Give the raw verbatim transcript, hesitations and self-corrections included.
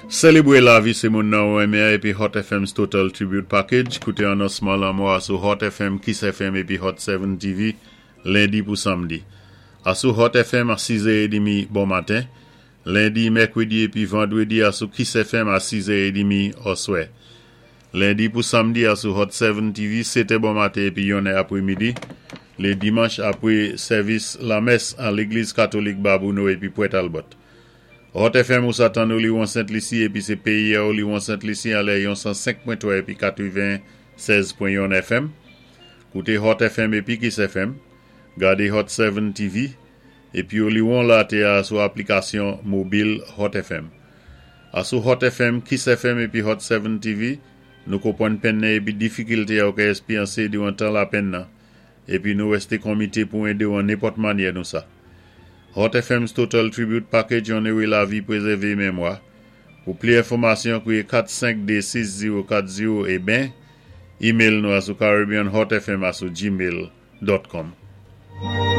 Sélébwé lavi sé moun nan ou enmen épi Hot F M's Total Tribute Package. Kouté anonsman lanmò a sou Hot F M, Kiss F M épi Hot sept T V, lendi pou samdi. Asou Hot F M a sis è trant bon maten, lendi, mèkwédi épi vandwédi asou Kiss F M a sis è trant oswè. Lendi pou samdi asou Hot sept T V, sèt è bon maten épi yonnè apwémidi. Lé dimanch apwé sèvis lamès an Légliz Katolik Babonneau épi Port Talbot. Hot F M ou sa tann ou li Sent Lisi épi sé péyi ou li Sent Lisi an lè yon san senk pwen twa épi katwennsèz pwen yon F M. Kouté Hot F M épi Kiss F M. Gadé Hot sept T V. Épi ou li la té a sou aplikasyon mobil Hot F M. Asou Hot F M, Kiss F M épi Hot sept T V, nou konpwann penn nan épi difikilté ou ka èspéryansé diwan tan lapenn nan. Épi nou wésté konmité pou édé ou an nenpòt mannyè nou sa. Hot F M's Total Tribute Package onoré lavi, pwézèvé mémwa. Pou pli enfòmasyon, kwiyé kat senk de sis zewo kat zewo é ben, email nou asou caribbeanhotfm asou gmail dot com.